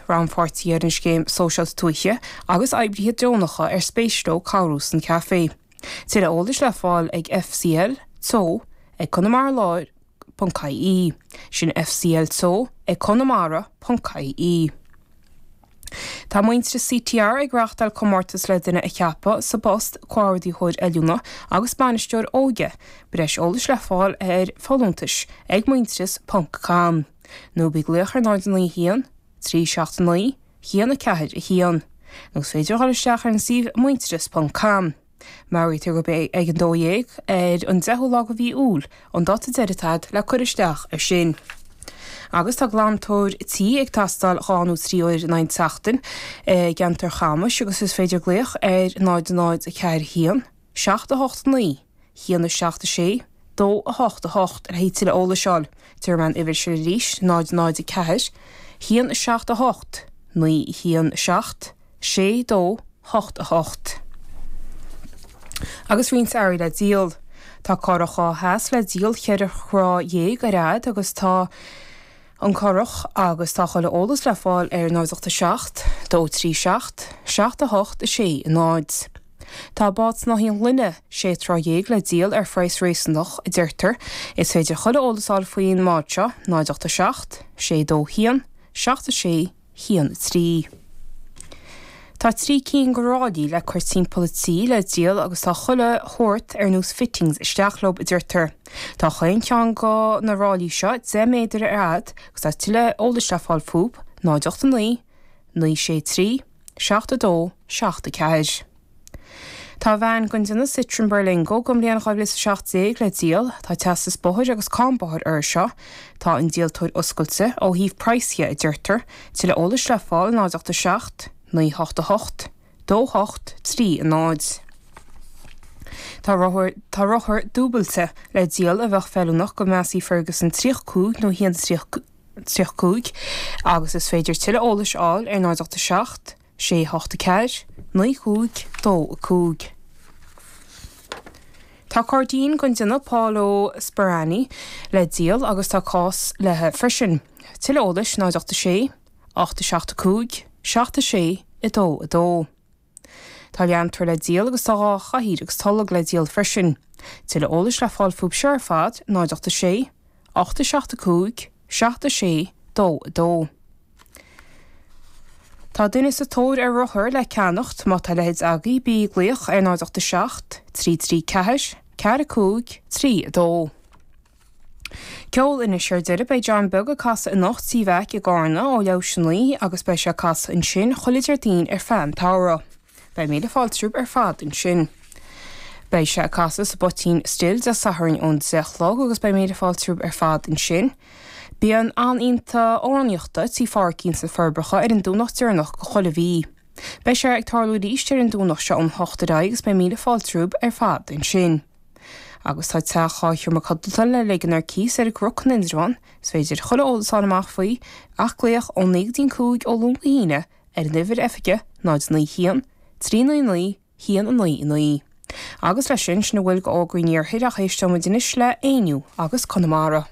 rannpháirtithe ar an Scéim Sóisialta Tuaithe agus oibrithe deonacha ar spéis leo cabhrú san Café. Tuilleadh eolais le fáil ag FCL Teo ag Conamara Láir ponc ie. Sin FCL Teo ag Conamara ponc ie. Tá Muintearas CTR ag reáchtáil comórtas le duine a cheapadh sa bpost Comhordaitheoir Oiliúna agus Bainisteoir Óige, breis eolais le fáil ar folúntais ag muintearas ponc com nó bí ag glaoch ar 0 9 1 3 7 9 1 4 1 nó is féidir a dhul isteach ar an suíomh muintearas ponc com. Meabhraítear gurb é ag an 12 ar an 10ú lá de mhí Iúil an dáta deiridh atá agat le cur isteach air sin. Agus tá glantóir tí ag teastáil 2 nó 3 uair in aghaidh an tseachtain i gceantar Chamais agus is féidir glaoch ar 0 0 4 1 7 8 9 1 7 6 2 8 8 le haghaidh tuilleadh eolais a fháil. Déarfaidh mé an uimhir sin arís, 0 0 4 1 7 8 9 1 7 6 2 8 8. Agus roinnt earraí le díol. Tá curach 2 sheas le díol cheithre throigh dhéag ar fhad agus tá an curach agus tá chuile eolas le fáil ar 0 8 7 2 3 7 7 8 6 0. Tá bád snáithín gloine 16 troigh le díol ar phraghas réasúnach, a deirtear. Is féidir chuile eolas a fháil faoin mbád seo, 0 8 7 6 2 1 7 6 1 3. Tá 3 cinn de ráillí le cur timpeall an tí le díol agus tá chuile shórt ar nós fittings isteach leo, a deirtear. Tá chaon cheann de na ráillí seo 10 méadar ar fhad agus tá tuilleadh eolais le fáil fúthu, 0 8 9 9 6 3 7 2 7 4. Tá veain den déanamh Citroën Berlingo den bhliain 2017 le díol. Tá teastas bóthair agus cáin bóthair uirthi seo. Tá an díoltóir oscailte ó thaobh praghas dhe, a deirtear. Tuilleadh eolais le fáil 0 8 7 9 8 8 2 8 3 0. Tá rothar Tá rothar dúbailte le díol a bheadh feiliúnach go Massey Ferguson 35 nó 135 agus is féidir tuilleadh eolais a fháil ar 0 8 7 6 8 4 9 5 2 5. Tá cairdín den déanamh Paolo Sperani le díol agus tá cás léi freisin. Tuilleadh eolais 0 8 6 8 7 5 7 6 2 2. Tá leantóir le díol agus tá 2 chathaoir agus tolg le díol freisin. Tuilleadh eolais le fáil fúthu seo ar fad 0 8 6 8 7 5 7 6 2 2. Tá duine sa tóir ar rothar le ceannacht, má tá a leithéid agaibh bí ag glaoch ar 0 8 7 3 3 4 4 5 3 2. Ceol anois ar deireadh, beidh John Beag ag casadh anocht Tí Mheaic i gCarna ó leathuair théis a 9 agus beidh sé ag casadh ansin chuile Déardaoin ar feadh an tsamhraidh. Beidh míle fáilte romhaibh ar fad ansin. Beidh sé ag casadh sa bPoitín Stil Dé Sathairn ón 10 a chlog agus beidh míle fáilte romhaibh ar fad ansin. Bíonn oíche amhránaíochta Tí Phádraigín sna Forbacha ar an Domhnach deireanach de chuile mhí. Beidh sé ag tarlú arís ar an Domhnach seo ón 8 ar aghaidh agus beidh míle fáilte romhaibh ar fad ansin. Agus tá teach 2 sheomra codlata le ligean ar cíos ar an gCnoc in Indreabhán. Is féidir chuile eolas a fháil amach faoi ach glaoch ón 9 go dtí an 5 ó Luan go hAoine ar an uimhir oifige 0 9 1 3 9 9 1 9 9. Agus leis sin, sin a bhfuil d'fhógraí an iarthair ach éisteoimid anois le Éinniú agus Conamara.